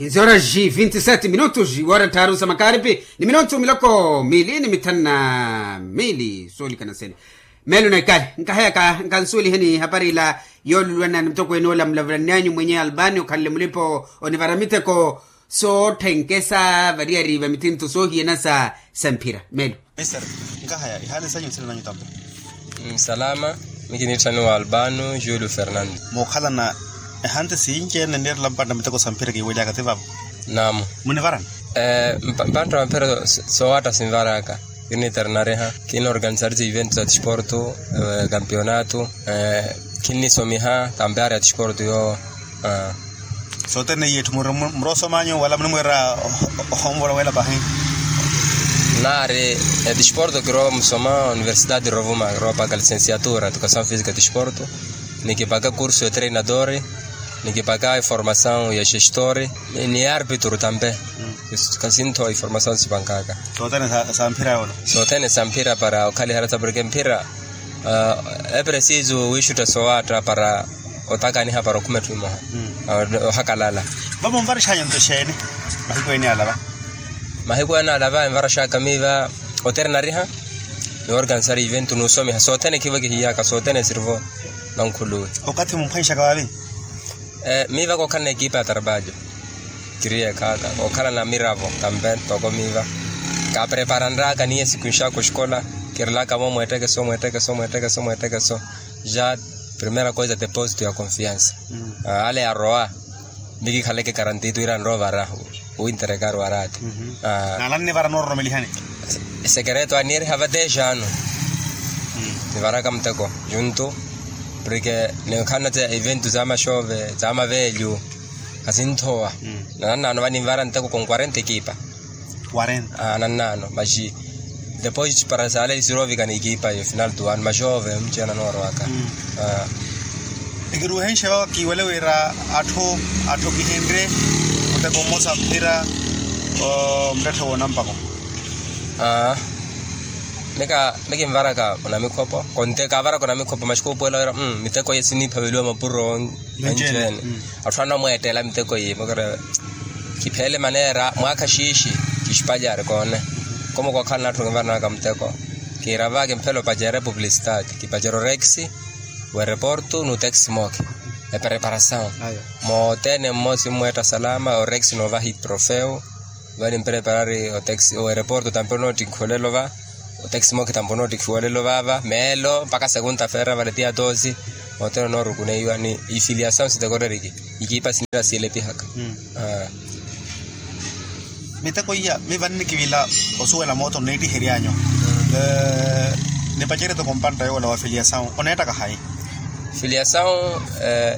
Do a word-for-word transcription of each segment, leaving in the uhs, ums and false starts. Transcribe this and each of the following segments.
Inzi horas vinti seti minutos wara tharu sa makaripi, ni minutu miloko mili ni mithanu na mili soolikana sene. Meelo na ikali nkaheyaka nkansuweliheni hapari ila, yoolulwana ni mutokweene ola mulavulanyanyu mwenye albani okhanle mulipo onivara miteko, sootthenke sa variyari va mitinto soohiyana sa samphira meelo. Mister, nkahaya ihaali sanyu nsina nanyu tampo. Nsalama. Mikiniitthaniwa albano julio fernando. Mookhalana ehanti sinci ene nirela mpanta miteko samphira kiiweliyaka ti vavo? Naamu. Munivarana? Mpantta wamphira soowatta sinvaraka. Kiniternariha, kinoorganisari ti eventu sa tisporto, kampionato. Kinnisomiha tampari ya tisporto yoowo. Sothene iye etthu muroosomanyu wala munimweera? Ohonvola wela pahi. Naari, etisporto kiroomusoma universidade rovuma kiroopaaka licensiatura educasaw fisica etisporto. Nikipaka kursu ya treinadori. Nikipaka informasaw ya gestori. Ni arbitru tampe. Kasinthowa informasaw sipankaka. Sothene samphira para okhaliha rata porke mphira. Epresiso wiixutta soowatta para otakaniha para okhuma etthu emoha. Ohakalala. Vamo nvarexanyu nto exeeni? Mahiku ene alava. Mahiku ene alava envarexaka miiva oternariha, ni organizari eventu n'usomiha sothene khivo kihiyaka sothene esirvo. Nankhuluwe. Okathi mumphwanxaka vaavi? Miiva kookhalana ekipa ya tarbalho. Kiriye khaaka kookhalana miravo tampe toko miiva. Kaapreparanraka niye siku nxaku oxikola. Kirilaka vo mweettekeso mweettekeso mweettekeso mweettekeso. Ja primera koisa deposito ya konfiansa. Ale arowa. Mikikhaleke karantitu ira nroovara. Winterekari waraati. Nala nnivara noororomelihani. Sekereto aniiriha vateexano. Nivaraka muteko juntu. Porke ninkhanna tse eventu za maxove za maveelyu. Khasinthowa. Nananano vaninvara nteko konkwarenta ekipa. Nananano maxi. Depois para sale sirovikana ekipa yo final tu ano maxove mucena noorowaka. Ekiruhenxe vava kiwele wira atthu atthu kihenrye muteko mmosa mpira. Muttetthe woonampako. Mika mikinvaraka onamikhopo konte kavaraka onamikhopo maxi kuupuwela wira miteko iye siniiphaveliwa mapuro. Anci ene atthu anamweettela miteko iye makara. Kipheele maneera mwaakha xiixi kixipacari koone. Komo kookhalana atthu kinvaranaka muteko. Kiira va kimphela opacera epublicitati kipacera orex. Wereporto n'utex moke. Epreparasaw. Moothene mmosi mmweetta salama orex noovaha itrofeu. Vani mpreparari oreporto tampe onootikhiwa olelo va. Otex moke tampe onootikhiwa olelo vava meelo mpakha sekunta feera vale tiya toosi. Moothene onoorukuneiwa ni ifiliasaw sitekoreriki. Ikipa sinira siyelepihaka. Miteko iya mivanni kivila osuwela mooto nneettiheryanyu. Nipacerye toko mpantta yoola wa filiasaw oneettaka hayi? Filiasaw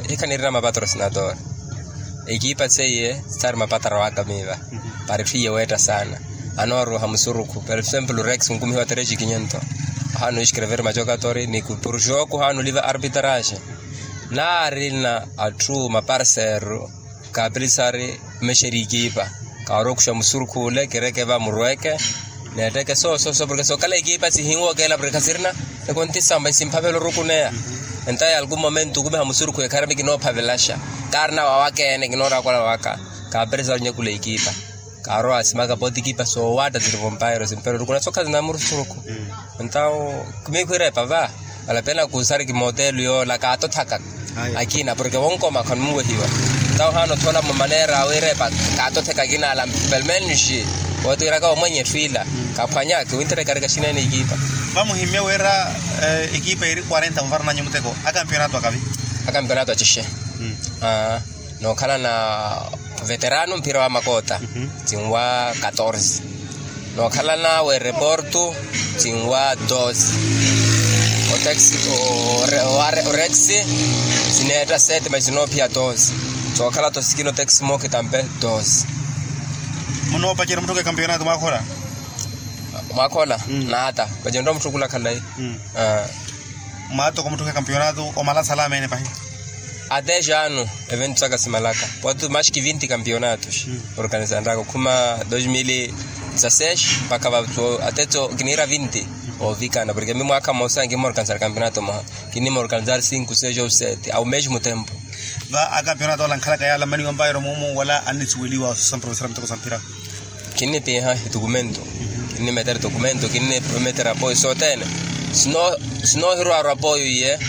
hikha nirina mapatrosinador. Ekipa seiye sitaari mapatara waka miiva. Para etthu iye weetta saana. Anooroha musurukhu por exemplo rex nkumihiwa trece quiniento. Ohaana oiskrever majokatori ni kupuruxooku ohaana oliva arbitrage. Naarina atthu maparseru. Kaapilisari mmexeri ekipa. Kaari okuxa musurukhu ole kireke va murweke. Neetteke soososo porke sookhala ekipa sihinwookela porke khasirina. Ekontisampa isimphavela orukuneya. Entayi algun momento okumiha musurukhu ekhara mikinoophavelaxa. Kaarina wawaka ene kinooraakola waka. Kaapilisari onyakula ekipa. Kaarowa asimaka pooti ekipa soowaatta siri vompairo simpero rukuna sokha sinamurusuruku. Entawo khumikhu irepa va. Valapena kuusari kimootelo yoola kaatothaka. Akina porke wonkoma khanumuwehiwa. Entawo haana othola mumaneera awe irepa. Kaatotheka akina ala pelmenxi. Wooti wiraka wamwenye etthu ila. Kaphwanyaki winterekareka xinene ekipa. Vamuhimmya wira ekipa iri quarenta muvarananyu muteko akampionato akavi? Akampionato acixe. Nookhalana veterano mphira wa makoota. Tsinwa katorze. Nookhalana wereporto. Tsinwa doze. Orex sineetta sete mas sinoophiya doze. Sookhala tosikina otex mooke tampe doze. Munoopacerya mutthuke kampionato mwaakhola? Mwaakhola naata. Pacerya mutthukulakhala. Mwaatoko mutthuke kampionato omala salama ene pahi? Ate jaanu. Eventu saka simalaka pooti maxi ki vinti kampionatos. Organizanraka okhuma dos mil dezasseis mpakha vaso ate tso kiniira vinti. Ovikana porke mi mwaakha mmosa kimmorganizari kampionato moha. Kinnimorganizari cinco seis ou sete ao mesmo tempo. Va akampeonato ala ankhalaka yaala ammaniwa mpairo moomo wala annisuweliwa osusa mprofesera miteko sa mphira? Kinnipiha itukumento, kinnimetera itukumento kinnimetera apoyo sothene. Sino sino hirwaarwa apoyo iye.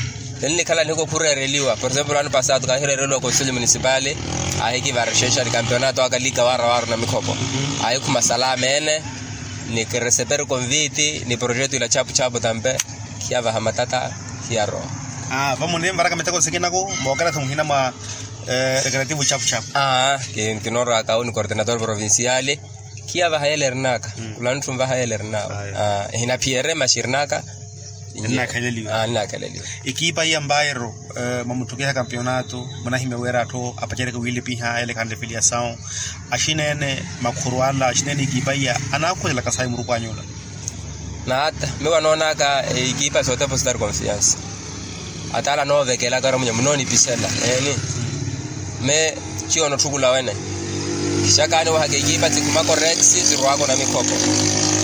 Tennikhala nihiku khureereliwa por exemplo ano pasado kahireereliwa konselho municipali. Ahikivarexa exari kampeonato aka lika waara waaru na mikhopo. Ahikhuma salama ene. Ni kireseperi konviti ni projeto ila chapu chapu tampe. Khiyavaha matata. Khiyarowa. Vamunimvaraka miteko sikinaku mookeretha muhina mwa recreativo chapu chapu. Aa. Kinooraka awo ni coordinator provinciali. Khiyavaha yela erinaka. Khulantthunvaha yela erinaka. Ehina phiyere maxi erinaka. Ennakhaleliwa. Ennakhaleliwa. Ekipa iya mbairo mwa mutthukiha kampeonato munahimya wira atthu apacereke wiilipiha yela ekhanle filiyasawu. Axinene makhuru ala axinene ekipa iya anaakhwelelaka sayi muruku anyu ola? Nata mi wanoonaka ekipa sootepositari konfiansa. Ataala anoovekelaka ora munya munoonipisela eeni. Me ciyo onotthukula wene. Kixakaani wahaka ekipa tsikhumaka orex sirwaka onamikhopo.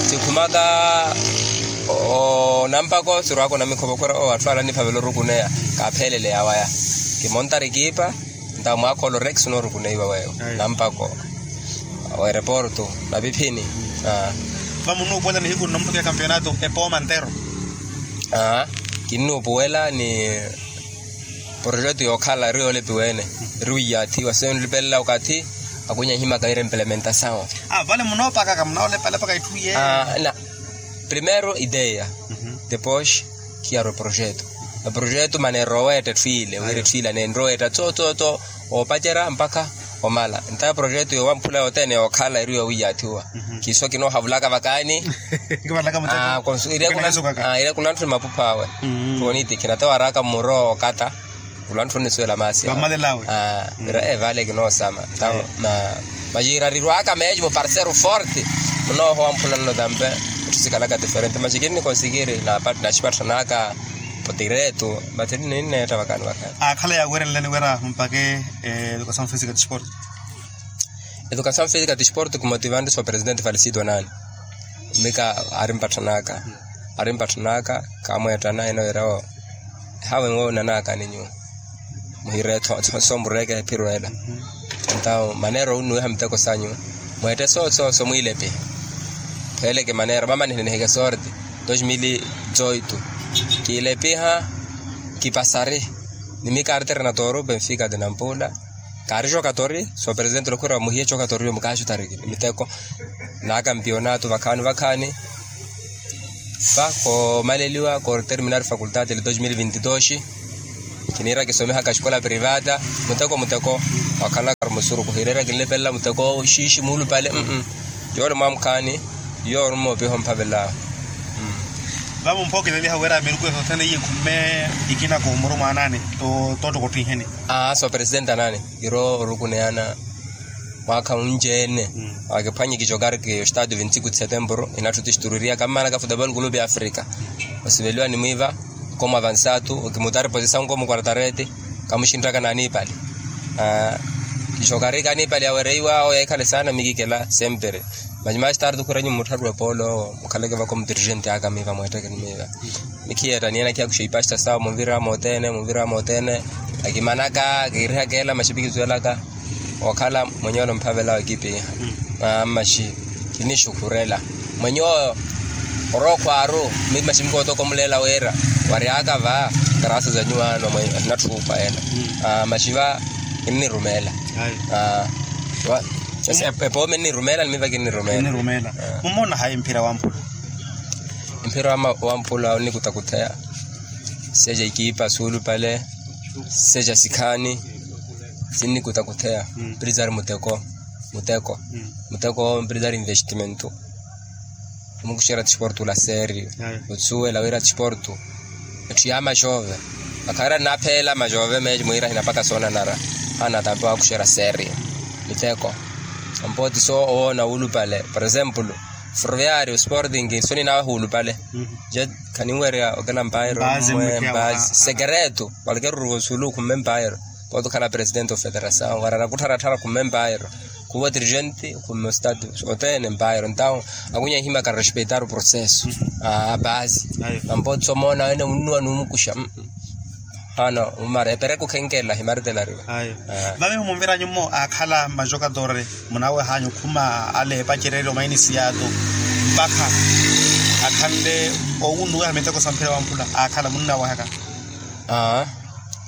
Tsikhumaka onampako sirwaka onamikhopo khura o atthu ala aniphavela orukuneya. Kaapheelele yawaya kimontari ekipa. Ntawo mwaakhola orex noorukuneiwa weyo nampako. Wereporto napiphini. Vamunuupuwela nihiku nnomutthukiha kampeonato epooma ntero. Kinnuupuwela ni projeto yookhala eri yoolepiwa ene. Eri wiyaathiwa seenlipelela okathi. Akunya ehimaka ira implementasawo. Vale munoopakaka munaolepalepaka itthu iye. Primero ideya. Depois khiyarwa eprojeto. Eprojeto maneera oweetta etthu ile wira etthu ile aneenre oweetta tso tso tso. Oopacerya mpakha omala ntawo eprojeto yoowamphula yothene yookhala eri yoowiyaathiwa. Kiso kinoohavulaka vakaani. Ira kunantthuni mapupho awe. Khunitikhi nata waraaka mmuro okatta. Khulantthuni nisuwela maasi awe. Vale kinoosama. Maciira rirwaka meeci muparseru forte. Munoohowa mphula nno tampe. Etthu sikhalaka diferente maci kinnikonsikiri napatthanaka. Potiretu. Mati ninneetta vakaani vakaani. Akhala yaawerenleni wira mumpake educasaw fisika tisporto? Educasaw fisika tisporto kimotivanri so presidente falisido nani. Mika arimpatthanaka. Arimpatthanaka kaamweettana ene wira wo ehawe nwoonanaka ni nyuwo. Muhire soomureke ephiro ela. Ntawo maneera ounnuwiha miteko sanyu. Mweette sooso somwiilepiha. Kheeleke maneera mama nihiniheke sorte. Dos mil zoito kiilepiha. Kipasari ni mi kaari terena toru benfika de nampula. Kaari jokatori so presidente lokhwira muhiye jokatori yo mukaaxutariki ni miteko. Na kampionato vakhaani vakhaani. Va koomaleliwa kooterminar fakultati ele dos mil vinti dos. Kiniira kisomihaka xikola privata. Muteko muteko wakhalaka ari musuru kuhireera kinlepelela muteko xiixi muulupale. Yoole mwaamukhaani. Yoole mmoopiha omphavelaawe. Vamo mpookeleliha wira miruku esothene iye khumme. Ikina koomuru mwaanaani. Toottokottiheni. Aa so presidente anaani. Kiro orukuneyana mwaakha unci-ene. Akiphwanye kijokariki ostadio vintiku de setemburu inatthu tistuririyaka mmaanaka futebol kulupi ya afrika. Osiveliwa ni mwiiva. Komu avansatu okimutari posisawu nkomu kwartareti. Kamuxinttaka n'anipali. Kijokariki anipali yawereiwa awo yeekhale saana mikikela sempre. Maci maastartu khwiranyu mmuttharu epoolo owo mukhaleke vako mutirixenti aka miiva mweetteke ni miiva. Mikhiyeetta niyena khiyakuxa ipasta sawo muvira mothene muvira mothene. Akimanaka kiirihaka ela maxi pikisuwelaka. Okhala mwenye ole omphavela wa ekipi iha. Maxi kinixukhurela mwenye oyo. Orookhwaaru. Maxi mikootokomulela wira waryaka va. Karasa za nyuwaano mwenye ahinatthukwa ela. Maxi va kinnirumela. Epoome nnirumeela ni miva kinnirumela. Mumona hayi mphira wamphula? Mphira wamphula onnikutakutheya. Seja ikipa suulupale. Seja sikhaani. Sinnikutakutheya. Mpiri zari muteko. Muteko. Muteko mpiri zari investimento. Omukuxera tisportu la serio. Otsuwela wira tisportu. Etthu ya maxove. Akhaira nnaapheela maxove meeci mwiira ahinapaka soonanara. Haana tampe waakuxera serio. Miteko. Ampo ti so owoona wuulupale por exemplo, ferroviario sporting so ninaawe huulupale. Je khaninwerya okela mpairo. Mbazi mwe mbazi. Sekereto. Walkeru ruvo sulu khumme mpairo. Pooti okhala presidente ofederasawu wara anakuttharatthara khumme mpairo. Khuva otirixenti khumme ostatu. Othene mpairo ntawo. Akunya ehimaka respeitar oproceso. Apaasi. Ampo ti so moona wene munnuwa nuumukuxa. Ano mumara epereke okhenkelela himaritelariwa. Vamiho munvira nyumo akhala majokatore munawe hanyu khuma ale epacereryo mainisiyato mpakha akhanle owunuweha miteko samphira wamphula akhala munnawehaka. Aa.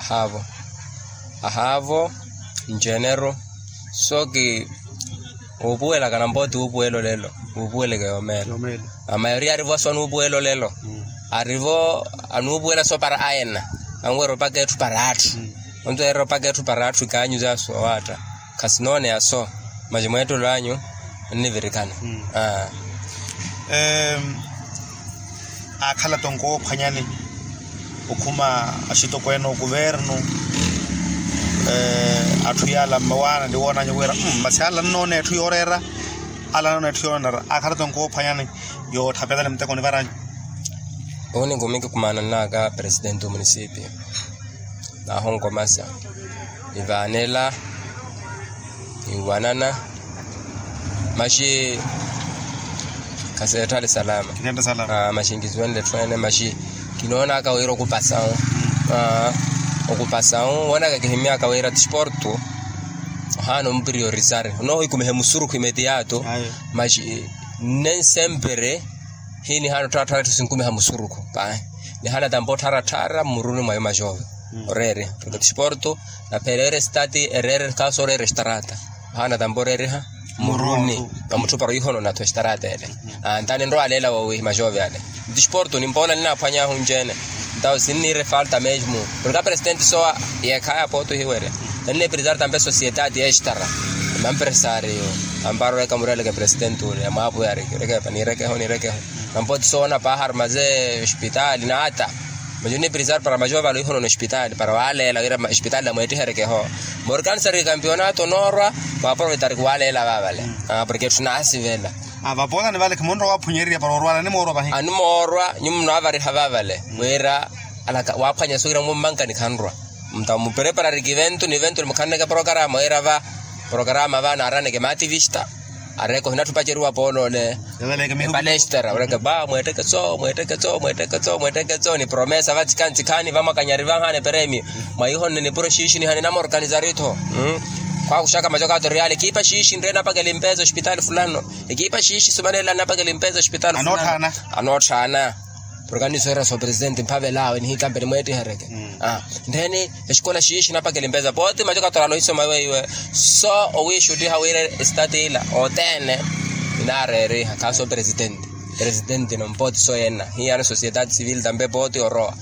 Ahaavo. Ahaavo njenero. So ki wuupuwelaka nampooti wuupuwela olelo wuupuweleke yomeelo. Amayoriya arivo so anuupuwela olelo. Arivo anuupuwela so para ayena anwerya opaka etthu para atthu. Onto erya opaka etthu para atthu ikaanyuza so owaatta. Khasinooneya so. Maci mweettelo anyu nnivirikana. Aakhala tonko woophwanyani okhuma axitokweene okuvernu. Atthu yaala mmawaana ni woonanyu wira masi ala annoona etthu yooreera. Ala annoona etthu yooreera aakhala tonko woophwanyani. Yootthapelani muteko onivaranyu. Owo ninkuminki khumaananaka presidenti omunisipio. Nahonkomasa nivaanela niwanana. Maxi khaseetthale salama. Maxi nkisuwenle etthu ene maxi kinoonaka wira okupasawu okupasawu woonaka kihimyaka wira tisportu. Ohaana ompriorisario onoohikumiha emusurukhu imetiyato. Maxi nne nsempere hii nihaana ottharattharatu sinkumiha musurukhu pahi. Nihaana tampa ottharattharatu mmuruni mwa imaxove oreeriha porke tisportu naphereera estati ereere khaasi oreera estarata. Ohaana tampa oreeriha mmuruni mwa mutthu para oihono natho estarata ele. Antani nrowa aleela woowi imaxove ale. Tisportu nimpoola ninaaphwanyahu nceene. Ntawo sinniira efalta mesmu porke apresidenti sowa yeekhaya pooto hiwerya. Nannipirizari tampa esosiyetati estara mampresario. Ampara oreka mureleke presidenti ule amwaapuyari kirekepa nirekeho nirekeho. Nampooti soona paha arumaze ospitaali naata. Majo nnipirizari para majo vale oihonono ospitaali para waaleela wira ospitaali namweettiherekeho. Morkanisari kampionato noorwa waaprovetariki waaleela vaavale. Porke etthu naasivela. Vapoolani vale khimunrowa waaphunyerirya para orwala animoorwa vahi. Animoorwa nyumu munaavariha vaavale wira alaka waaphwanya so wira mummankani khanrwa. Mutamupreparariki eventu ni eventu nimukhaneke porokarama wira va porokarama va naaraneke mativista. Areko hinatthupaceriwa poolole epalestera oreke ba mweetteke tso mweetteke tso mweetteke tso mweetteke tso ni promesa vatsikantsikhani vamwakanyari vanhaana eperemi. Mwaihonne nipuro xiixi nihani namorkanisari-tho. Khwakuxaka maco katoriali ekipa xiixi nre napakela impesa ospitaali fulano. Ekipa xiixi sumanela napakela impesa ospitaali fulano. Anootthaana. Porke annisoherya so presidenti mphavel'awe nihikampeni mweettihereke. Ntheni exikola xiixi napakela impesa pooti maco katorala ohisoma weiwe. So owiixuttiha wira esitati ila othene ninaareeriha khaso presidenti. Presidenti no mpooti so yenna hiyano sosiyetati sivili tampe pooti orowa.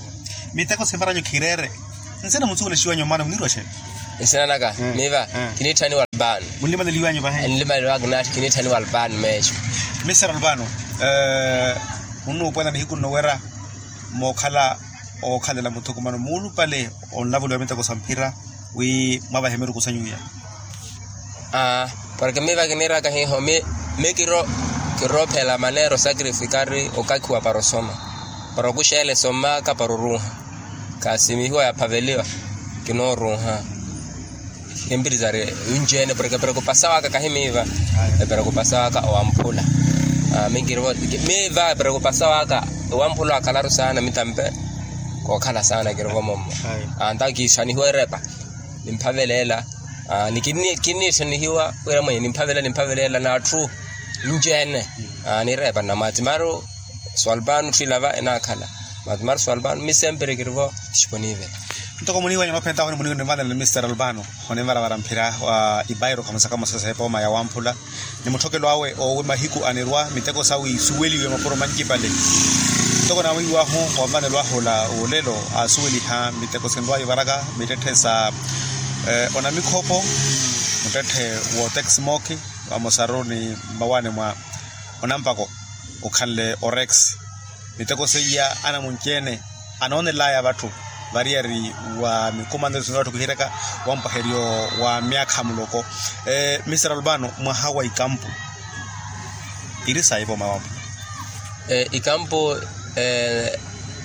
Miteko simparanya okhireere. Nsina munsukulexiwanyu mmaana munirwa xe? Nsina naka miva kiniitthaniwa albano. Munlimaleliwanyu vahe? Nlimaleliwaka naathi kiniitthaniwa albano meexo. Mister albano, munnuupwela nihiku nno wira mookhala ookhalela muthukumano muulupale onlavoliwa miteko sa mphira wi mwavahe miruku sanyu iya? Porke miva kiniiraka hiho mi kiroophela maneera osakrifikari okakhiwa para osoma para okuxeela esomaka para oruuha. Kaasimihiwa yaaphaveliwa kinooruuha. Kimpirizari winci-ene porke eperekupasa waka kahi miiva. Eperekupasa waka owamphula. Miiva eperekupasa waka owamphula wakhalaru saana mitampe. Kookhala saana kirivo mommo. Anta kiixanihiwa erepa nimphavelela. Kinniixanihiwa wira mwenye nimphavelela nimphavelela n'atthu. Nci-ene niirepa nnamwaatimaru swalpano tthwilava enaakhala. Mwaatimaru swalpano mi sempre kirivo. Xiponivela. Ntoko muniiwanya noophentaho ni muniiwanya nivanela ni mister albano. Onimvaravara mphira wa ipairo khamusaka musasa epooma ya wamphula ni mutthokelo awe owi mahiku anirwa miteko sawe isuweliwe mapuro mancipale. Ntoko nawiiwahu wanvanelo ahu ola olelo aasuweliha miteko sinrwa ivaraka mittetthe sa onamikhopo muttetthe wootex mooki vamosaru ni mmawaani mwa onampako okhanle orex. Miteko seiya anamunci-ene anoonelaya vatthu variyari wa mikumanelo sinoona vatthu kihiraka wampaheryo wa myaakha muloko. Mister albano mwaha wa ikampu iri sayi vooma wampu. Ikampu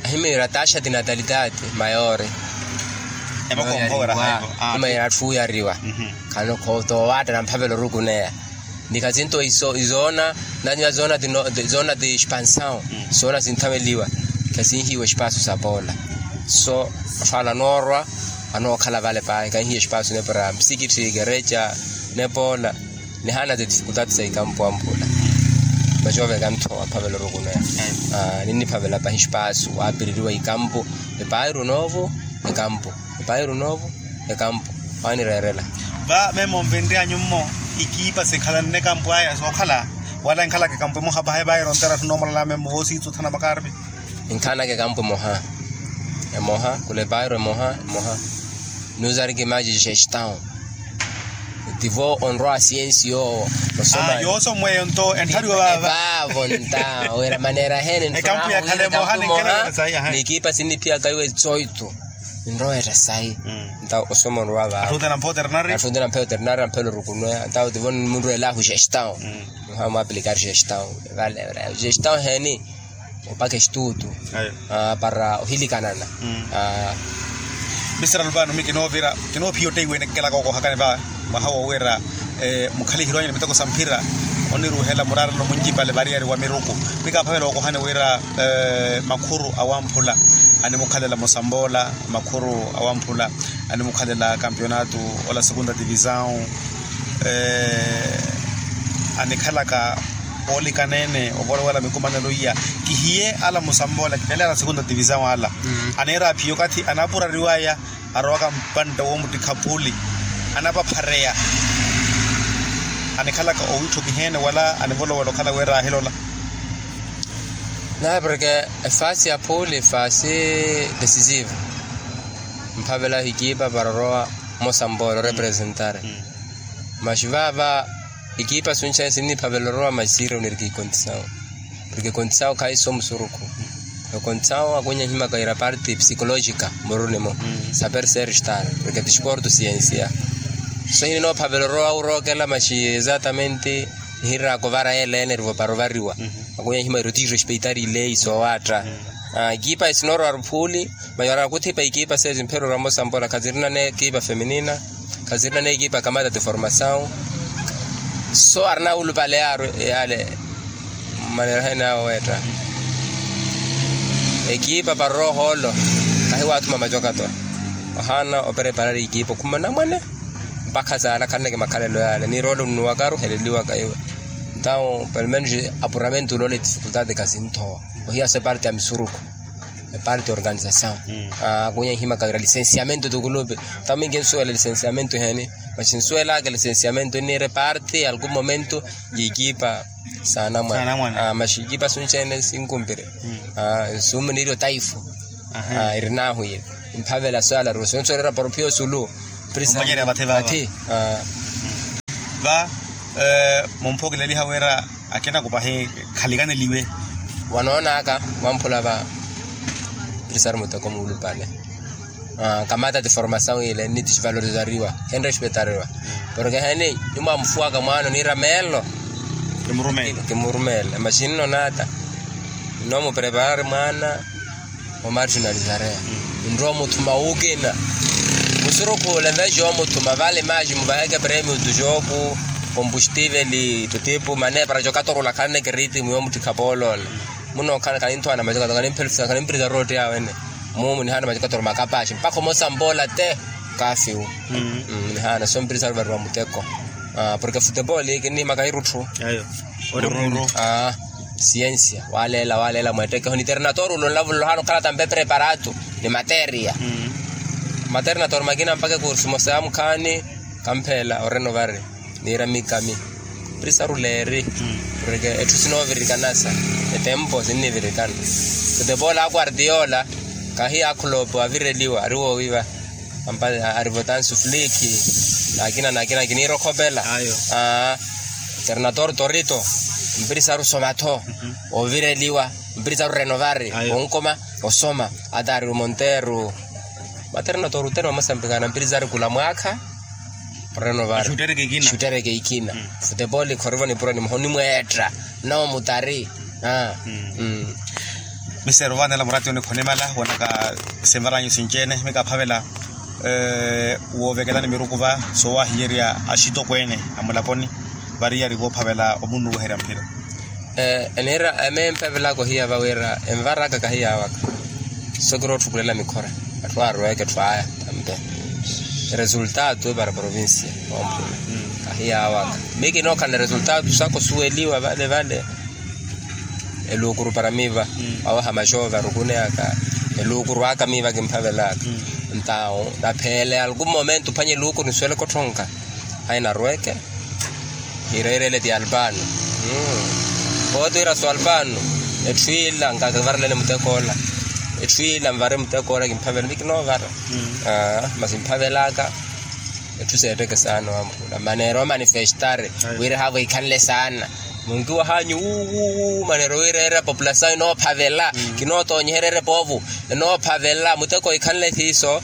ahimira taxa tinatalitaati mayori. Emakompovera haivo. Imayira atthu oyariwa khano khoto owaatta namphavela orukuneya. Ni khasinto izoona nanyuwa zoona ti expansawu. Zoona sinthaveliwa khasinhiiwa expasu sa poola. So otthu ala anoorwa anookhala vale pahi kahihiya espaasu nepo ra msikitthi kereca nepo ola. Nihaana ti difikultati sa ikampu amphula vacooveka ntho aphavela orukuno ya. Ninniphavela pahi espaasu waapireriwa ikampu. Epairu noovo ekampu. Epairu noovo ekampu. Waanireerela. Va memo nvinry'anyu mmo ikiipa sikhalanne ekampu aya sookhala wala enkhalaka ekampu emoha paha epairu ontera tthuna omulala memo voosiitsa othana makarpi. Enkhanaka ekampu emoha. Emoha khula epairu emoha emoha. Nuzariki maji jestaw. Tivo onrowa siyensi yoowo. Osoma yooso mweyo nto enthariwa vava. Vavo nta wira manera hene ekampu yakhala emoha. Nikiipa sinniphiyaka iwe tsoito. Ninrowa etta sayi. Nta osoma onrowa vava. Atthunte nampha oternaria amphela orukuno ya nta tivo munrwelahu jestaw. Muha mwaplikari jestaw. Vale jestaw heni. Opaka estutu para ohilikanana. Misera lupano mi kinoophiya otteiwene kikelaka okohakani va mwaha wo wira mukhalihirwanyu ni miteko sa mphira oniruhela muraarelo muncipale variyari wa miruku. Mi kaaphavela okohani wira makhuru awamphula animukhalela mosamboola makhuru awamphula animukhalela kampionatu ola segunda divisaw anikhalaka oolikaneene ovolowela mikumanelo iya. Kihiye ala musamboola kipele ala segunda divisaw ala aneera aphiya okathi anapurariwaya arowaka mpantta womuttikha phuuli anapaphareya anikhalaka owiitthokiheene wala anivolowela okhala wira ahilola. Naye porke efaasi ya phuuli efaasi decisive mphavela hikiipa para orowa mmosa mboolo orepresentare. Maxi vaava ikiipa sunxayi sinniphavela orowa maxi siirewuniriki ikontisawu porke ikontisawu khayi so musurukhu. Ekontisawu akwinya ehimaka ira parte psikolojika murunimo saper ser star porke tisporto siensia. So hininophavela orowa wurookela maxi exatamente nihiraka ovara yeela ene erivo para ovariwa. Akwinya ehima ira otirespeitar ileyi soowaatta. Ekiipa esinoorowari phuuli. Mayora kuthipa ekipa sezi mphero ramo sambola khazirina n'ekipa feminina khazirina n'ekipa kamata de formasawu. So arina wulupale yaaru yale mmanera hene awo weetta ekipa para orowa ohoolo. Kahiwaathuma macokato ohaana opreparari ekipa okhuma namwane. Mpakha saala khaneke makhalelo yale niroole onnuwaka aruheleliwaka iwe. Nthawu pelomenus apuramentu uloole difikultati khasinthowa. Ohiya so eparte ya misuruku eparte ya organisasawu. Akunya ihimaka wira lisensiamento tukulupe. Tamingi nsuwela lisensiamento heni maxi nsuwelaka lisensiamento iniira eparte ya algun momento ya ekipa. Saana mwana maxi ekipa sunxene sinkumpire. Nsumu niiri otaifu iri nahu yiri. Mphavela swala rusi onsuwelera poropio sulu. Prisathi va mumphokeleliha wira akina kupahi khalikaneliwe. Wanoonaka mwamphula va prisari muteko muulupale. Kamata ti formasawu ile ni ti xivalorizariwa khenrespetariwa. Porke heni nimwamufuwaka mwaano niira meelo. Kimurumela maxi nnoonata nnomupreparari mwaana. Omarginali zareya nrowa omuthuma wuukina. Musurukhu olenveji omuthuma vale maji muvaheke premiu tu joku kombustivel. Tutipu mane para jokatorula khaneke ritimu yomuttikha poolola. Munookhala khaninthowana majokato khanimphirisa rooti awene. Mumu nihaana majokato makapaaxi mpakha omosa mbola te. Kafiwu nihaana so mpirisa ruvariwa muteko. Porke futepoli kinihimaka irutthu. Siensia waleela waleela mweettekeho ni ternator ulo nlavulo ohaana okhala tampe preparatu ni materia. Maternator makina mpaka ekursu mosa ya mukhaani. Kampheela orenovari niira mikami. Prisaru leeri porke etthu sinoovirikana sa etempo sinnivirikana. Kutepoola akuarti yoola kahiya akhulopo avireliwa ari woowiva. Arivotansu fliki nakina nakina kiniira okhopela. Ternator torito mpirisaru somatho ovireliwa mpirisaru renovari onkoma osoma. Ata ari omonteru maternator utene wamosambikana mpirisaru kula mwaakha. Renovari xuttereke ikina futepoli khorivo nipuro ni muho nimweetta. Nnawo mutari. Mister ovaanela murati onikhonimala wonaka sinvaranyu sinci-ene mikaphavela woovekelani miruku va soowahiyerya axitokweene amulaponi. Variyari voophavela omunnuweherya mphira. Eniira ememphavelaka ohiya va wira envaraka kahiyaawaka. So kiri otthukulela mikhora. Atthu arweke etthu aya tampe resultado para provincia. Ompula ahiyaawaka. Mi kinookhala resultado saka osuweliwa vale vale. Eluukuru para miiva awaha maxoove arukuneyaka. Eluukuru aka miiva kimphavelaka. Ntawo napheele algun momento phwanya eluukuru nisuweleke otthonka. Hayi narweke. Hireerele ti alpano. Pooti wira so alpano. Etthu ila nkakivarelene mutekoola. Etthu ila nvare mutekoola kimphavela mi kinoovara. Masi mphavelaka. Etthu seetteke saana wamphula maneera omanifestare wira haavo ikhanle saana. Munkiwa hanyu wuuwuuwu maneera owireera populasayo inoophavela. Kinootoonyeherya erepoovu enoophavela muteko ikhanle siiso.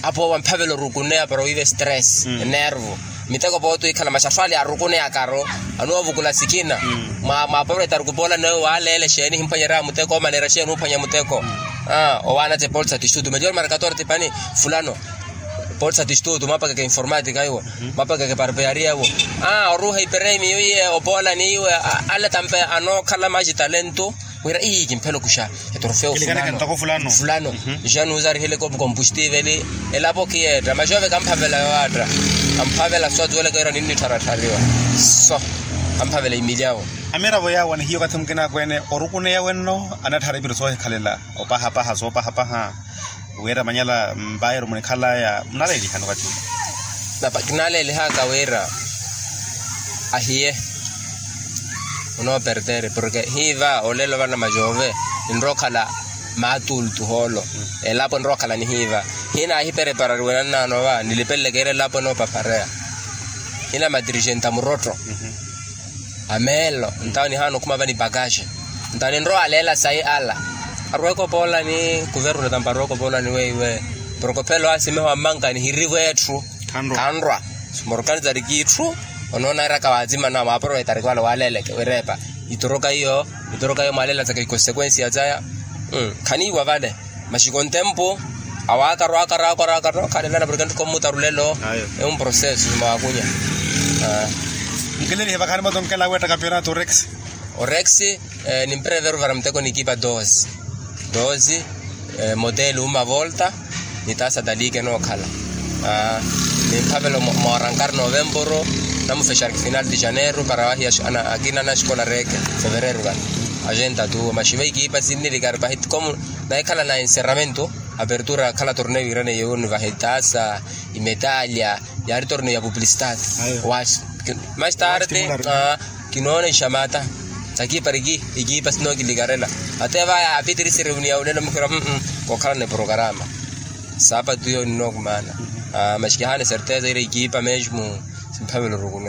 Apo wamphavela orukuneya para wiive stress enervo. Miteko pooti wikhala maxattho ale arukuneyakaro anoovukula sikina. Mwa mwaporofeta arukupoola nawe waaleele exeeni himphwanyerya muteko omanera exeeni umphwanya muteko. Owaana tse polsa tistutu mejor markator tipani fulano. Polsa tistutu mwapakeke informatika iwo. Mwapakeke parpeyaria iwo. Oruuha iperemi iwiye opoola niiwe. Ale tampe anookhala maji talento. Wira ii kimphela okuxa etrofeo fulano. Fulano. Nixanuuzarihileke opu kompustiiveli. Elapo kiyeetta maxoove kamphavela yowaatta. Kamphavela so atuweleke wira ninnittharatthariwa. So kamphavela imilyawo. Amiravo yaawo anihiya okathi mukina akweene orukuneya wenno anattharipiri soohikhalela opahapaha soopahapaha. Wira manyala mbayiru munikhalaya munaleelihani okathi. Napa kinaleelihaka wira ahiye. Onoopertere porke hiiva olelo vana majoove ninrookhala maatultu hoolo. Elapo enrookhala nihiiva. Hina ahipereparariwe nannaano va nilipeleleke ira elapo enoopapareya. Hina matirixenta murotto. Ameelo ntawo nihaana okhuma vani pakaxe. Ntawo ninrowa aleela sayi ala. Arweke opoola ni kuvernu tampa arweke opoola ni weiwe. Porkophelo asimeho ammanka nihirivo etthu. Khanrwa. Morkanizari kiitthu. Onoona iraka waatsima nawe waaporofeta arikwaala waaleeleke wireepa. Itoroka iyo. Itoroka iyo mwaaleelatsaka ikonsekwensiya tsaya. Khaniiwa vale. Maxiko ntempu awaaka arwaaka arwaaka arwaaka arwaaka alelana porke ntthukho mmuta rulelo. Emproceso simawaakunya. Nkileelihe vakhaani moto nkela aweetta kampionato orex. Orex. Nimpereveru vara muteko nikipa doze. Doze. Moteli uma volta. Nitaasa talike nookhala. Nimphavelo moorankari novemporo. Namufexari final de janeiro para wahiya akina naxikola reke. Fevereru vale. Agentatu maxi veikipa sinnilikari pahiti komu. Nahikhala na encerramento. Apertura akhala torneo iraneiye uni vahitaasa imetalya. Yaari torneo ya publicitati. Mas tarde. Kinoona ixamata. Sakiipa riki ikiipa sinookilikarela. Ate vaya apitirisiri uni ya ulelo mukhira kokhalana eprokarama. Sapatu iyo ninookumaana. Mas kihaana eserteza ira ikiipa mesmo. Simphavela orukuna.